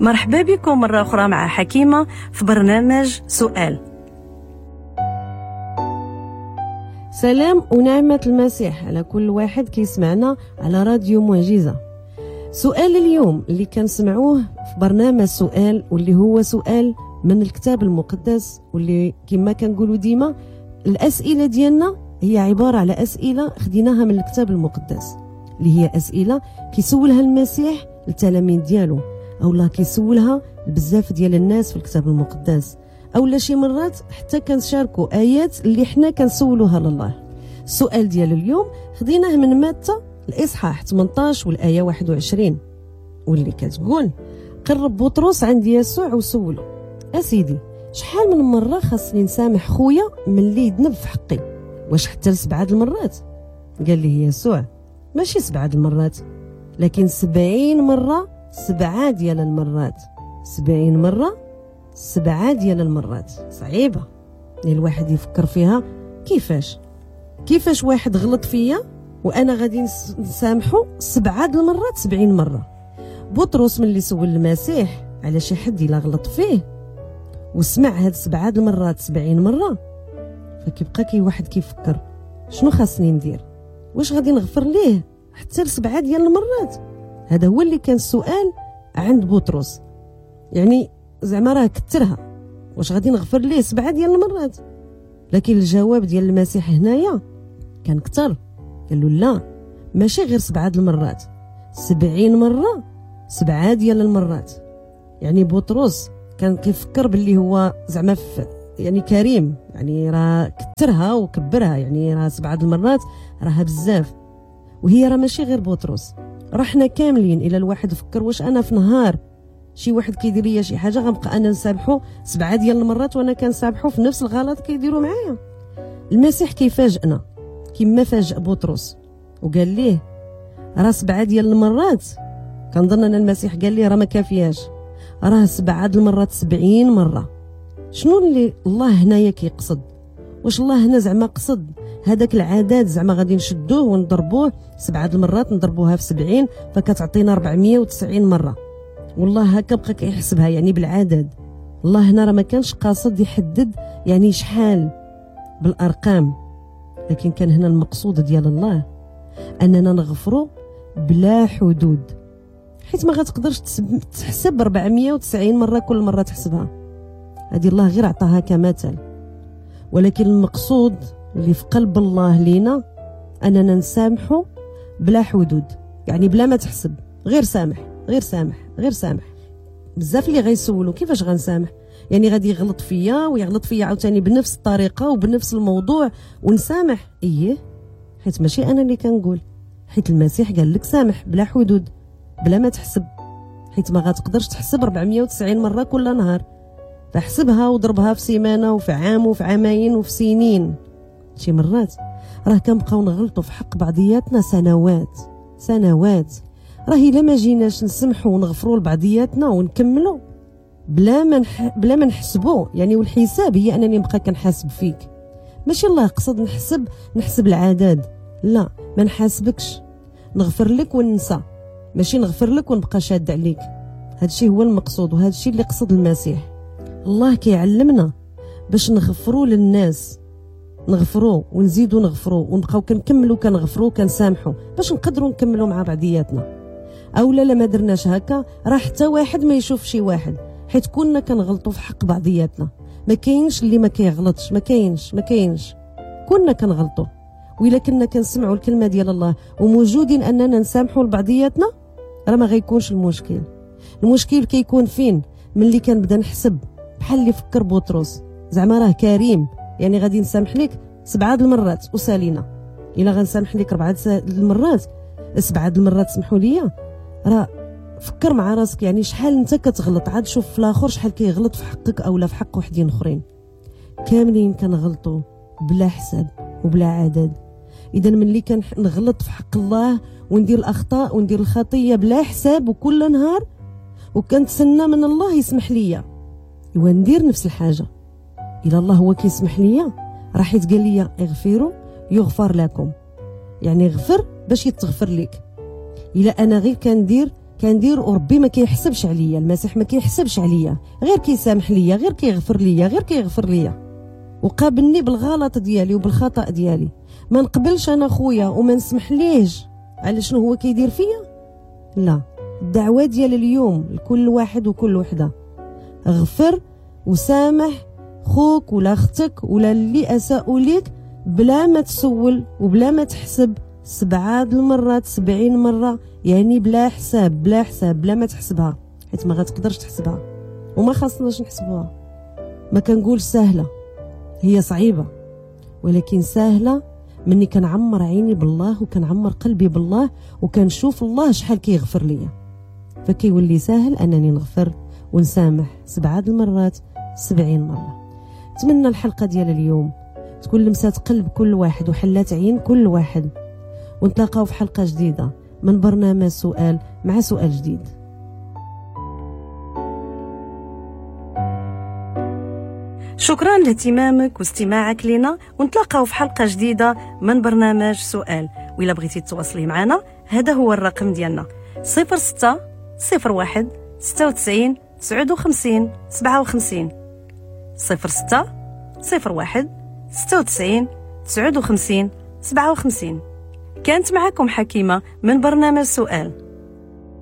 مرحبا بكم مرة أخرى مع حكيمة في برنامج سؤال. سلام ونعمة المسيح على كل واحد كيسمعنا على راديو معجزة. سؤال اليوم اللي كنسمعوه في برنامج سؤال، واللي هو سؤال من الكتاب المقدس، واللي كما كنقولوا ديما الأسئلة ديالنا هي عبارة على أسئلة خديناها من الكتاب المقدس، اللي هي أسئلة كيسولها المسيح للتلاميذ ديالو، أو لا كيسولها بزاف ديال الناس في الكتاب المقدس، أو لا شي مرات حتى كنشاركوا آيات اللي حنا كنسولوها لله. السؤال ديال اليوم خديناه من متى الإصحاح 18 والآية 21، واللي كتقول: قرب بطرس عند يسوع وسولو: أسيدي، شحال من مرة خاصني نسامح خويا من اللي يذنب في حقي؟ واش حتى 7 المرات؟ قال لي يسوع: ماشي 7 المرات، لكن 70 مرة 7 ديال المرات. 70 مرة 7 ديال المرات. صعيبة الواحد يفكر فيها. كيفاش واحد غلط فيا وانا غادي نسامحو 7 المرات 70 مرة؟ بطرس من اللي سول المسيح على شي حد الا غلط فيه وسمع هاد 7 المرات 70 مرة، فكيبقى كي واحد كيفكر شنو خاصني ندير، واش غادي نغفر ليه حتى 7 ديال المرات؟ هذا هو اللي كان السؤال عند بطرس، يعني زعما راه كثرها، واش غادي نغفر ليه 7 ديال المرات؟ لكن الجواب ديال المسيح هنايا كان كثر، قال له لا، ماشي غير 7 المرات، 70 مرة 7 ديال المرات. يعني بطرس كان كيفكر باللي هو زعما يعني كريم، يعني راه كثرها وكبرها، يعني راه 7 المرات راها بزاف. وهي راه ماشي غير بطرس، راه حنا كاملين. الى الواحد فكر واش انا في نهار شي واحد كيدير ليا شي حاجة غنبقى انا نسامحو 7 ديال المرات وانا كنسامحو في نفس الغلط كيديروا معايا؟ المسيح كيفاجئنا كما فاجئ بطرس وقال ليه راه 7 ديال المرات. كنظن ان المسيح قال ليه راه ما كافياش، راه 7 المرات 70 مرة. شنو اللي الله هنايا كيقصد؟ واش الله هنا زعما قصد هذاك العدد زعما غادي نشدوه ونضربوه 7 المرات، نضربوها في 70 فكتعطينا 490 مرة؟ والله هكا بقى كيحسبها يعني بالعدد. الله هنا راه ما كانش قاصد يحدد يعني شحال بالارقام، لكن كان هنا المقصود ديال الله اننا نغفروا بلا حدود، حيت ما غتقدرش تحسب 490 مرة كل مرة تحسبها. هذه الله غير عطاها كمثل، ولكن المقصود اللي في قلب الله لينا اننا نسامحوا بلا حدود، يعني بلا ما تحسب، غير سامح غير سامح غير سامح. بزاف اللي غيسولوا كيفاش غنسامح، يعني غادي يغلط فيا ويغلط فيا عاوتاني بنفس الطريقة وبنفس الموضوع ونسامح؟ ايه، حيت ماشي انا اللي كنقول، حيت المسيح قال لك سامح بلا حدود بلا ما تحسب، حيت ما غتقدرش تحسب 490 مرة كل نهار، فحسبها وضربها في سيمانه وفي عام وفي عامين وفي سنين. شي مرات راه كنبقاو نغلطوا في حق بعضياتنا سنوات سنوات. راه الا ما جيناش نسمحوا ونغفروا لبعضياتنا ونكملوا بلا ما نحسبوا، يعني والحساب هي انني نبقى كنحاسب فيك. ماشي الله قصد نحسب العدد، لا، ما نحاسبكش، نغفر لك وننسى، ماشي نغفر لك ونبقى شاد عليك. هادشي هو المقصود وهادشي اللي قصد المسيح. الله كيعلمنا باش نغفروا للناس، نغفروا ونزيدوا نغفروا ونبقاو كنكملوا كنغفروا كنسامحوا باش نقدروا نكملوا مع بعضياتنا. اولا لا ما درناش هكا راه حتى واحد ما يشوف شي واحد، حيت كنا كنغلطوا في حق بعضياتنا. ما كاينش اللي ما كيغلطش، ما كاينش، كنا كنغلطوا. وإلا كنا كنسمعوا الكلمة ديال الله وموجودين اننا نسامحوا لبعضياتنا راه ما غيكونش المشكل. المشكل كيكون فين؟ ملي كنبدا نحسب بحال اللي فكر بطرس، زعما راه كريم، يعني غادي نسامح لك 7 المرات وسالينا. الا غنسامح لك 4 المرات 7 المرات سمحوا لي، راه فكر مع راسك يعني شحال انت كتغلط، عاد شوف في الاخر شحال كيغلط في حقك اولا في حق وحدين اخرين. كاملين كنغلطوا بلا حساب وبلا عدد. اذا ملي كنغلط في حق الله وندير الاخطاء وندير الخطية بلا حساب وكل نهار وكنتسنى من الله يسمح ليا، ايوا ندير نفس الحاجة. الى الله هو كيسمح ليا راه حيت قال لي اغفروا يغفر لكم، يعني غفر باش يتغفر لك. الا انا غير كندير كندير وربي ما كيحسبش عليا، المسيح ما كيحسبش عليا، غير كيسامح ليا، غير كيغفر ليا، غير كيغفر ليا، وقابلني بالغلط ديالي وبالخطأ ديالي. ما نقبلش انا خويا وما نسمح ليش على شنو هو كيدير فيا. لا، الدعوة ديال اليوم لكل واحد وكل وحدة، غفر وسامح خوك ولا اختك ولا اللي اساءوا ليك بلا ما تسول وبلا ما تحسب 7 المرات 70 مرة، يعني بلا حساب، بلا حساب، بلا ما تحسبها، حيت ما غتقدرش تحسبها وما خاصناش نحسبوها. ما كنقول سهلة، هي صعيبة، ولكن سهلة مني كنعمر عيني بالله وكنعمر قلبي بالله وكنشوف الله شحال كيغفر ليا، فكيولي ساهل أنني نغفر ونسامح 7 المرات 70 مرة. نتمنى الحلقة ديال اليوم تكون لمسات قلب كل واحد وحلات عين كل واحد، ونتلاقاو في حلقة جديدة من برنامج سؤال مع سؤال جديد. شكرا لاهتمامك واستماعك لنا، ونتلاقاو في حلقة جديدة من برنامج سؤال. وإلا بغيتي تواصلي معنا هذا هو الرقم ديالنا 06 01 96 59 57، 06 01 96 59 57. كانت معكم حكيمة من برنامج سؤال.